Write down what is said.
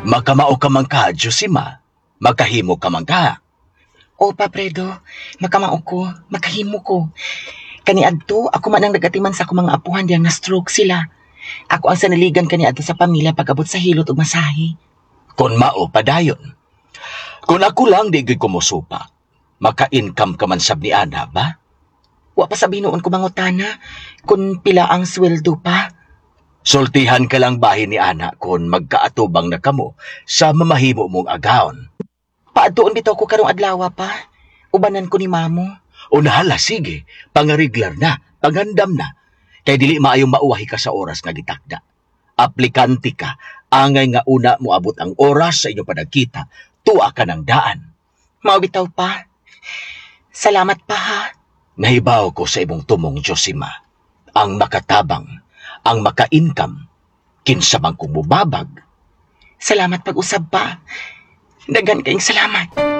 Makamao ka man ka, Josima. Makahimo ka man ka. O pa, Fredo, makamao ko, makahimo ko. Kaniadto, ako man ang nagatiman sa akong mga apuhan diyang na-stroke sila. Ako ang sanaligan kaniadto sa pamilya pag-abot sa hilot ug masahe. Kung mao, padayon. Kung ako lang, di gyud ko mosupak. Maka-income ka man sab ni ana ba? Wa pa sa binuon ko mangutana kung pila ang sweldo pa. Sultihan ka lang bahin ni ana kung magkaatubang na kamo sa mamahimo mong agawon. Paadtuon bitaw ko karong adlaw pa. Ubanan ko ni mamo. Unahala, sige, pangariglar na, pangandam na. Kay dili maayong mauwahi ka sa oras nga gitakda. Aplikante ka, angay nga una moabot ang oras sa inyo panagkita, tuwa ka ng daan. Mao bitaw pa. Salamat pa ha. Nahibaw ko sa imong tumong, Josima. Ang makatabang, ang maka-income, kinsa man kung mubabag. Salamat pag-usab pa. Daghan kayong salamat.